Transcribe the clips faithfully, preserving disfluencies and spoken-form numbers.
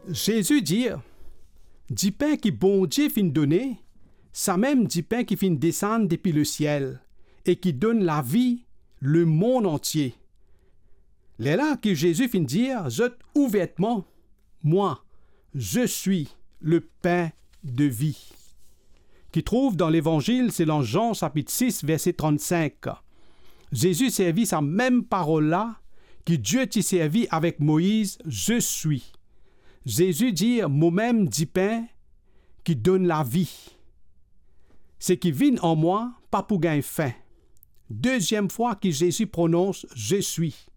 Zezi dir, "Dipin ki Bondie finn done, samem dipin ki finn desann depi lesiel e ki donn lavi lemonn antie." Lerla ki Zezi finn dir zot ouvertman, "Mwa, je suis le pain de vie." Ki trouv dan Levanzil selon Zan sapit sis, verse trannsink. Zezi servi sa mem parol la ki Die ti servi avek Moiz, "Je suis." Zezi dir, "Momem dipin ki donn lavi. Seki vinn an mwa pa pou gagn fin." Deziem fwa ki Zezi pronons, "Je suis."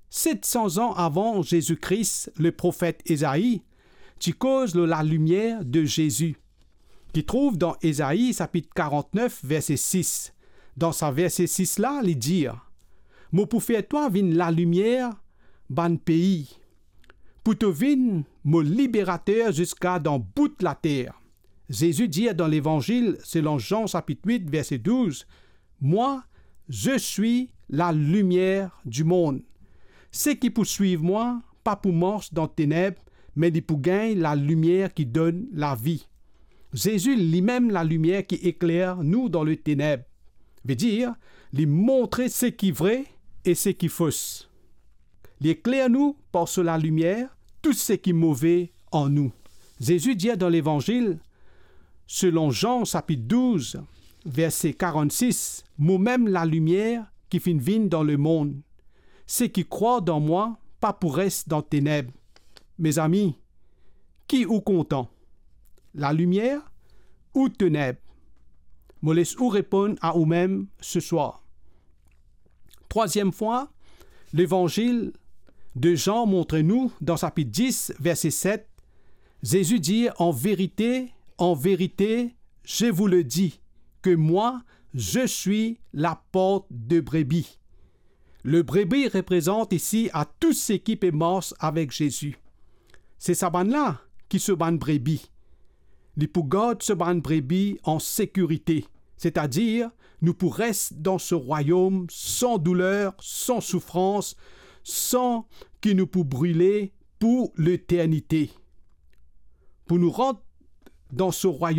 Set san zan avan Zezi Kris, leprofet Ezai ti koz lor lalimier de Zezi, ki trouv dan Ezai sapit karantnef, verse sis. Dan sa verse sis la, li dir, "Mo pou fer twa vinn lalimier bann pei, pou to vinn mo liberater ziska dan bout later." Zezi dir dan Levanzil selon Zan sapit wit, verse douz, "Mwa, je suis lalimier dimonn. Seki pou swiv mwa pa pou mars dan teneb, me li pou gagn lalimier ki donn lavi." Zezi limem lalimier ki ekler nou dan leteneb. Vedir, li montre seki vre e seki fos. Li ekler nou par so lalimier tou seki move an nou. Zezi dir dan Levanzil selon Zan sapit douz, verse karannsis, "Momem lalimier ki finn vinn dan lemonn. Seki krwar dan mwa pa pou res dan teneb." Mezami, ki ou kontan? Lalimier ou teneb? Mo les ou reponn a oumem seswar. Trwaziem fwa, Levanzil de Zan montre nou, dan sapit dis, verse set, Zezi dir, "En vérité, en vérité, je vous le dis, que moi, je suis la porte de brebis." Lebrebi reprezant isi a tou seki pe mars avek Zezi. Se sa bann la ki so bann brebi. Li pou gard so bann brebi an sekirite, setadir nou pou res dan so rwayom san douler, san soufrans, san ki nou pou brile pou leternite. Pou nou rant dan so rwayom,